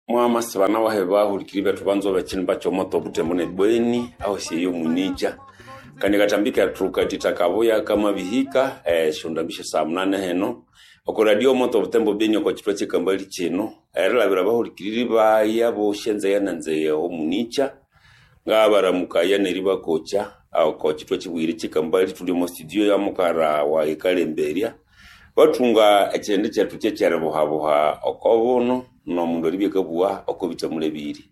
Mwamasibana wahe bahulikiri bethu banzwa b'ekinimba ky'omoto Butembo ne Beni ahosi eyo mwinikya kandi akatambi kethu katita kabuya kamabihika esyondambi sya munani hino oko radio moto Butembo Beni oko kithwa kyekambali kino erilabira abahulikiriri bayi abosi enzeghe nenzeghe omunikya ngabaramukaya neribakokya oko kithwa kibuyire kyekambali thuli omo studio ya mukara wayi ekalemberya bathunga ekyindi kyethu kyekyeribuhabuha oko buno nomundu eribya akabugha oko bithamulebirye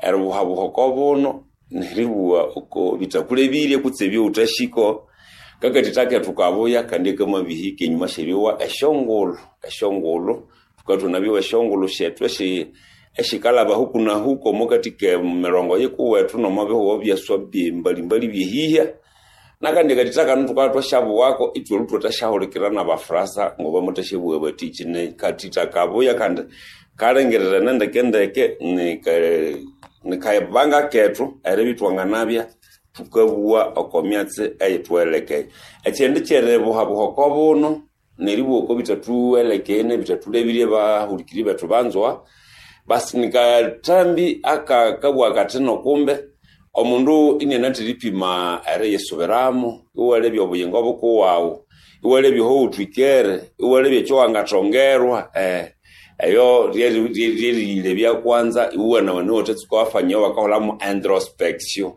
eribuhabuha oko buno neribugha oko bithakulebirye kutse ebyowuthasiko kakathitha kethu kabuya kandi akamabihika enyuma syeryowa esyongulhu esyongulhu thukathwa esyongulhu syethu esyikalaba huku na huku omwakathi kemirongo yikuwethu nomwabihugho byaswa byembalimbali byehihya nakandi akathitha kano thukabya thwasyabughako ithwalhu thwathasyahulukira nabafurasa ngobamuthasyabuwa bathi kine kathitha kabuya kandi kalengererene ndekendeke nikabanga kethu eribya ithwanganabya thukabuwa oko myatsi eyithuwelekeye ekyindi kyeribuhabuha oko buno neribugha oko bithathuwelekeye nebithathulebirye bahulikiri bethu banzwa basi nikathambi akakabugha kathi nokumbe omundu inianathira ipima eriyisubiramu iwalebya obuyingo bukuwawu iwalebya ohowuthwikere iwalebya ekyowangathongerwa eyo ryeriyilebya kwanza iwuwanawana iwathatsuka wafanya bakaholhamu introspection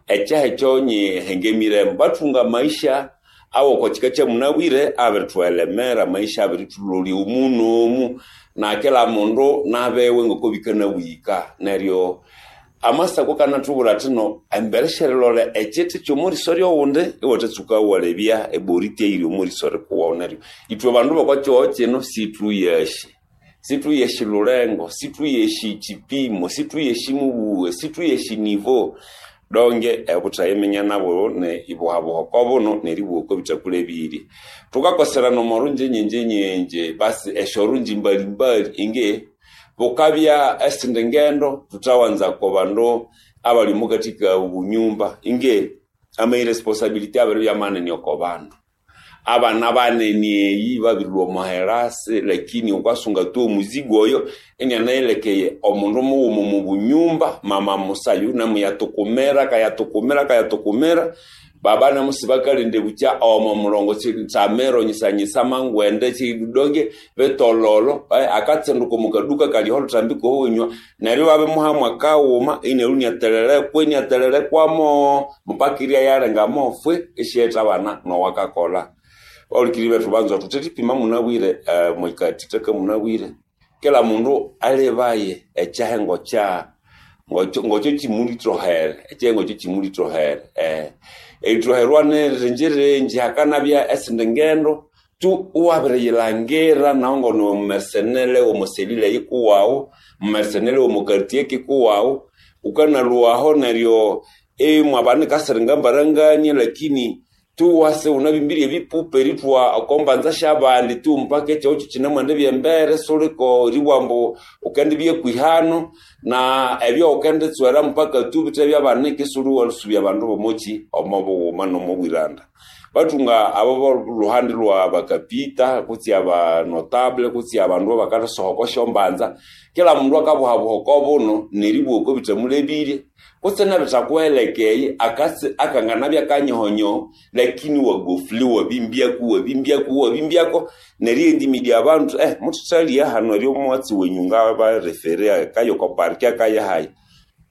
ekyaha ekyo nyihengemiremu bathunga amaisha awoko kika kyamunabwire abirithuelemera amaisha abirithulolya omu nomu na kila mundu nabewe ngoko bikanabwika neryo amasako kanathubwira athino embere syerilolha ekyiti kyomoriso ryowundi iwathatsuka iwalebya eboriti eyiri omoriso rikuwawu neryo ithwe bandu bokwakyihogho kino sithuyashi sithuyashi lulengo sithuyashi kipimo sithuyashi mubughe sithuyashi nivo donge obuthayiminya nabo ne ibuhabuha oko buno neribugha oko bithakulebirye thukakoserana omo runji nyinji nyinji basi esyorunji mbalimbali inge bukabya esindi ngendo thuthawanza ko bandu abali omukathika obunyumba inge ama irresponsibility abiribya manene oko bandu abana banene eyi babirilhwa omo herasi lakini wukasunga tu omuzigo oyo inianayilekeye omundu mughuma omu bunyumba mama musayu namuyatukumira kayatukumira kayatukumira baba namusi bakalinde bukya omo mulongo tsamero nyisanyisa mangwende chidonge betololo akatsenduka omukaduka kaliho oluthambi kohunywa neryo babimuhamu akawuma ineryo iniathelelekwa iniathelelekwamo mpaka irya yalenga mofwe isyetha abana nowakakolha bahulikiri bethu banzwa thuthethipima munabwire mwikathithaka munabwire kila mundu alebaye ekyahengo kya ngokyo kimulithohere ekyahengo kyo kimulithohere erithoherwa nirinjirinji hakanabya esindi ngendo tu iwabiriyilangira nahu ngoniwe mumersenere womuselile yikuwawu mumersenere womukartier kikuwawu wukanalhuwaho neryo imwabanika siringa mbarangania lakini tu wase wunabimbirye ebipupa erithwa oko mbanza syabandi tu mpaka ekyihugho kyikinemwendibya embere suliko eribugha ambu wukendibya kwihano na ebyo wukenditswera mpaka tu bithe byabanika isiwuliwasubya abandu bomoki omo bughuma nomobwiranda bathunga abo bolhuhandi lwa bakapita kutse abanotable kutse abandu abakathasoha oko syombanza kila mundu akabuhabuha oko buno neribugha oko bithamulebirye kutse nebithakuwelekeye akatsi akanganabya kanyohonyoho lakini wagofule wabimbyako wabimbyako wabimbyako neryo endimidya abandu muthithalya hano eryo omwatsi wenyu ngabarefere akaye oko parki akaye hayi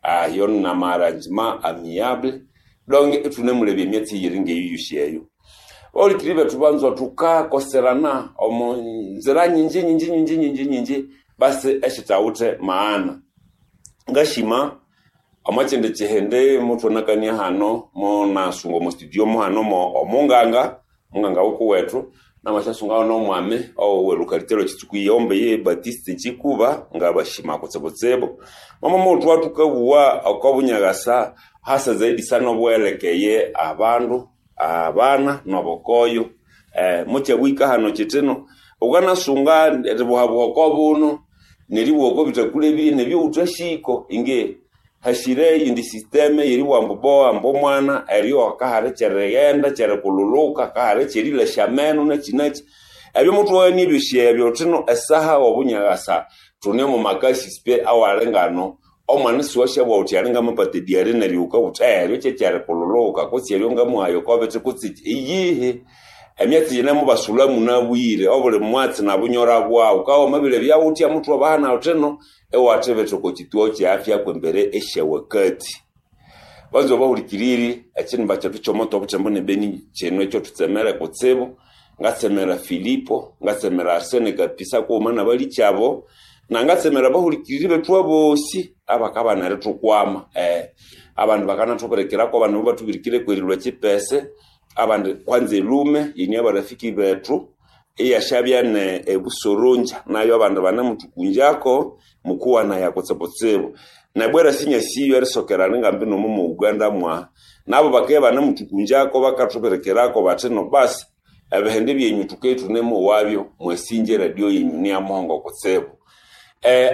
ayo nama-arrangement amiable donc ithunemulebya emyatsi eyiri ngeyo eyo bahulikiri bethu banzwa thukakoserana omo nzira nyinji nyinji nyinji nyinji nyinji basi esithawithe maana ngashima omwakyindi kyihindi muthwanakania hano munasunga omo studio muhano omunganga munganga wukuwethu namasyasungaho nomwami owelukalite lwekitsuku iyombe ye Batiste Chikuba ngabashima kutsibutsibu mama muthwa thukabuwa oko bunyakasa hasa zaidi sana obuwelekeye abandu abana nobukoyo mukyabwika hano kyithino wukanasunga eribuhabuha oko buno neribugha oko bithakulebirye nebyowuthasiko inge hashire eyindi systeme yeribugha ambu bowa ambu omwana eryo akahali kyerighenda kyerikululuka akahali kyerilasya ameno nakyi nakyi Ebyo muthughania ebyosi ebyo thino esaha obunyakasa thune omo makasi pe awalingano omwana isiwasyabugha wuthi ali ngamapata ediary neryo wukabugha wuthi eryo kyekyerikulhuluka kutse eryo ngamuhaya oko bithi kutse iyihi. Emyatsi yine mubasulha munabwire obuli mwatsi nabunyora bwaghu wukabya wamabilebya wuthya muthwabahana thutino iwathibitha oko kyituo kye afya kwembere esyawakati. Banzwa bahulikiriri ekinimba kyethu kyomoto obutembo ne Beni kino ekyathutsemere kutsibu ngatsemera Filipo ngatsemera Arsene Kapisa kughuma nabalikyabo nangatsemera abahulikiriri bethu abosi abakabana erithukwama abandi bakanathubirikirako abandi mubathubirikire kwerilwa ekyipese abandi kwanza elume yine abarafiki bethu iyasyabya ne ebusoronja nayo abandi banemuthukunjako mukuwanaya kutsibutsibu nebwera sinyasiyo erisokerana ngambi nomo mu Uganda mwa nabo bakabya banemuthukunjako bakathubirikirako bathi no basi ebihindi byenyu thuke thunemowabyo mwasinja eradio yenyu niyamuhongo kutsibu.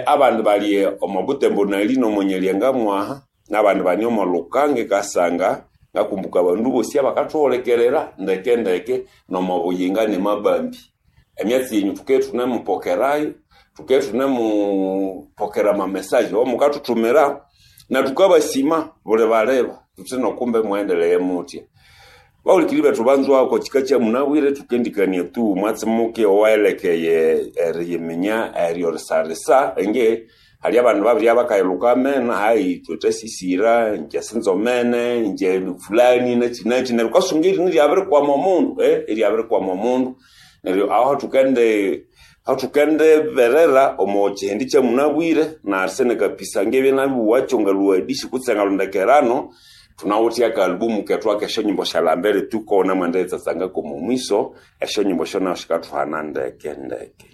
Abandi bali omo Butembo nali nomo Nyalyenga mwaha nabandi bane omo Lukanga Kasanga ngakumbuka abandu bosi abakathuhulikirira ndeke ndeke nomo Buyinga ne Mabambi. Emyatsi yenyu thuke thunemupokerayo thuke thunemupokera amamesaje awamukathuthumira na thukabasima buli baleba thuthi nokumbe mughendeleye muthya. Bahulikiriri bethu banzwa oko kika kyamunabwire thukendikania tu mwatsi muke owaelekeye eriyiminya eryorisarisa enge hali abandu babirya bakayilhuka amena hayi ithwe thasisira inje sinzomene inje fulani nakyi nakyi neryo wukasunga erini iryabirikwama omundu iryabirikwama omundu neryo aho thukendiberera omo kihindi kyamunabwire na Arsene Kapisa ngebye nabibuwakyo ngalhuwadisi kutse ngalhondekerano thunawithe akaalubumu kethu ak'esyonyimbo syalambere tukona mwendiyitsatsangako omo mwiso esyonyimbo esyo nayo sikathuhana ndeke ndeke.